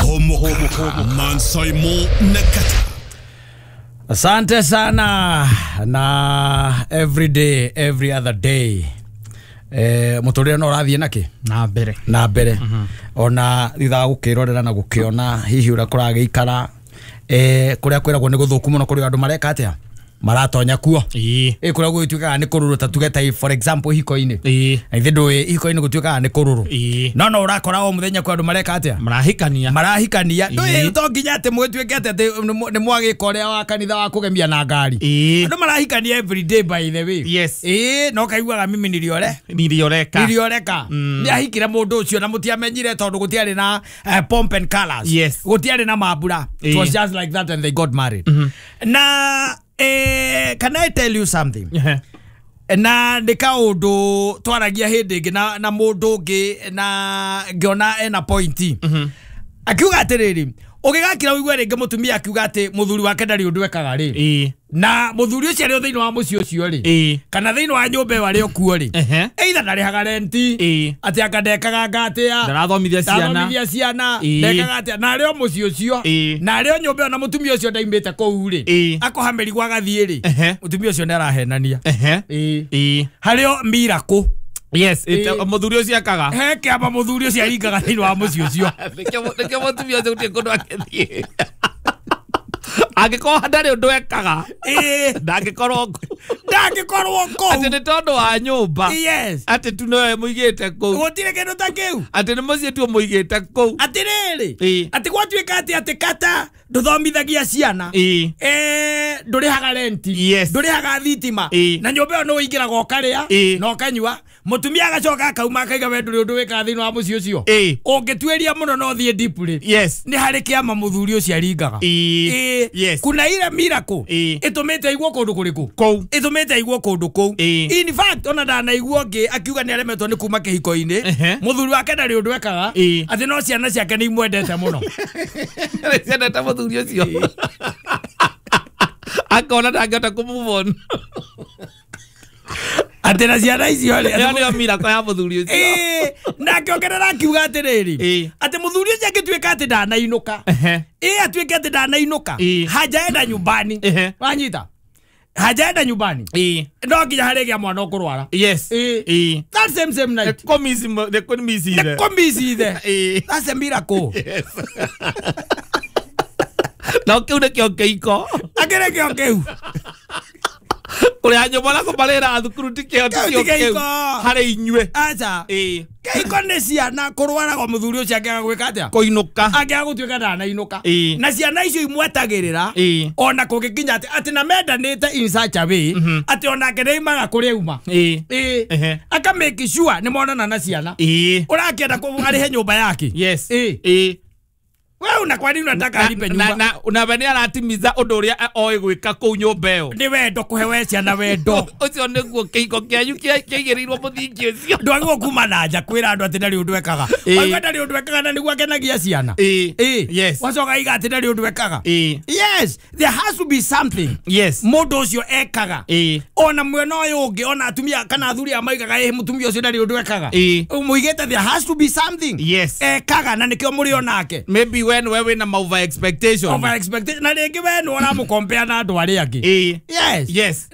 Homoka Mansaimo Nakata. Asante sana na every day, every other day. Muturire no urathie naki na mbere na mbere. Ona thutha gukirorera na gukiona hihi uria kuragiikara kuria kwiragwo ni guthuku muno kuri andu mareka atia maratonya kuo kuria gwituikaga ni kururu ta tuge ta for example hiko-ini ithe ndui hiko-ini gutuikaga ni kururu no no urakora o muthenya kwa andu mareka atia marahikania ndui to nginya ati mwituike ati ni mwagika uria wa kanitha wa kugemia na ngari andu marahikania every day by the way. Yes. No kaiguaga mimi nilioreka ni ahikire mundu ucio na mutiamenyire tondu gutiari na pomp and colors. Yes. Gutiari na mambura. It was just like that and they got married. Na can I tell you something? Na nĩ kaũndũ twaragia hĩndĩ ĩngĩ na mũndũ ũngĩ na ngĩona ena pointi. Akiuga atĩrĩrĩ, ũgĩgakira ũigue rĩngĩ mũtumia akiuga atĩ mũthuri wake ndarĩ ũndũ ekaga rĩ. Na mũthuri ũcio arĩ o thĩinĩ wa mũciĩ ũcio rĩ, kana thĩinĩ wa nyũmba ĩyo arĩ o kuo rĩ, either ndarĩhaga renti, atĩ anga ndekaga nga atĩa, ndarathomithia ciana, ndekaga atĩa, na arĩ o mũciĩ ũcio, na arĩ o nyũmba ĩyo na mũtumia ũcio ndaimĩte kũu rĩ, akoha mĩrigo agathiĩ rĩ, mũtumia ũcio nĩarahenania. Harĩ o miracle. Yes, mũthuri ũcio akaga. He kĩama mũthuri ũcio aringaga thĩinĩ wa mũciĩ ũcio. Nĩkĩo mũtumia ũcio gũtirĩ kũndũ akĩthiĩ. Angĩkorwo ndarĩ ũndũ ekaga, ndangĩkorwo kũu. Atĩ nĩ tondũ wa nyũmba. Yes. Atĩ tu nowe mũigĩte kũu. Gũtirĩ kĩndũ ta kĩu. Atĩ nĩ mũciĩ tu mũigĩte kũu. Atĩrĩrĩ, atĩ gwatuĩka atĩ kata ndũthomithagia ciana, ndũrĩhaga renti, Yes. ndũrĩhaga thitima, na nyũmba ĩyo nĩ ũingĩraga ũkarĩa na ũkanyua, mũtumia agacoka akauma akaiga we ndũrĩ ũndũ wĩkaga thĩinĩ wa mũciĩ ũcio. Ũngĩtuĩria mũno no ũthiĩ deep rĩ, Yes. nĩ harĩ kĩama mũthuri ũcio aringaga. Yes. Kuna ile miracle ĩtũmĩte aiguo kũndũ kũrĩkũ? Kũu. Ĩtũmĩte aiguo kũndũ kũu. In fact ona ndanaigua ũngĩ akiuga nĩ aremetwo nĩ kuma kĩhiko-inĩ, mũthuri wake ndarĩ ũndũ ekaga, atĩ no ciana ciake nĩ imwendete mũno. Ciendete mũthuri ũcio. Akona ndangĩhota kũ move on. Atĩ na ciana icio rĩ, ĩyo nĩyo miracle ya mũthuri ũcio. Na akĩongerera akiuga atĩrĩrĩ, atĩ mũthuri ũcio angĩtuĩka atĩ ndanainũka, atuĩke atĩ ndanainũka, hajaenda nyumbani. Wanyita? Hajaenda nyumbani. No nginya harĩgĩa mwana ũkũrwara. Yes. That same night. Nĩkũmici ithe. That's a miracle. Yes. No kĩu nĩkĩo kĩiko. Akĩrĩ kĩo kĩu. Kũrĩha nyũmba na kũmarĩra thukuru ti kĩo kĩu harĩ inyuĩ. Aca. Kĩhiko nĩ ciana kũrwara kwa mũthuri ũcio angĩaga gwĩka atĩa? Kũinũka. Angĩaga gũtuĩka ndanainũka. Na ciana icio imwetagĩrĩra ona kũngĩkinya atĩ na mendanĩte in such a way atĩ onake nĩaimaga kũrĩa auma. Aka make sure nĩ monana na ciana. Ũrakĩenda arĩhe nyũmba yake. Yes. Wewe una kwa nini unataka alipe nyumba? Na we nĩ aratimiza ũndũ ũrĩa oĩ gwĩka kũu nyũmba ĩyo. Nĩ wendo kũhe we ciana wendo. Ũcio nĩguo kĩhiko kĩanyu kĩaigĩrĩirwo mũthingi ũcio. Ndwagĩrĩirwo kuma na nja kwĩra andũ atĩ ndarĩ ũndũ ekaga. Waigua ndarĩ ũndũ ekaga na nĩguo akenagia ciana. Yes. Wacoka iga atĩ ndarĩ ũndũ ekaga. Yes, there has to be something. Yes. Mũndũ ũcio ekaga. Ona mwena ũyũ ũngĩ ona atumia kana athuri a maigaga mũtumia ũcio ndarĩ ũndũ ekaga. Mũigĩte there has to be something. Yes. Ekaga na nĩkĩo mũrĩ onake. Maybe when we win over expectation. Over expectation. Na rĩngĩ we nĩ ũramũkompea na andũ arĩa angĩ. Yes. Yes.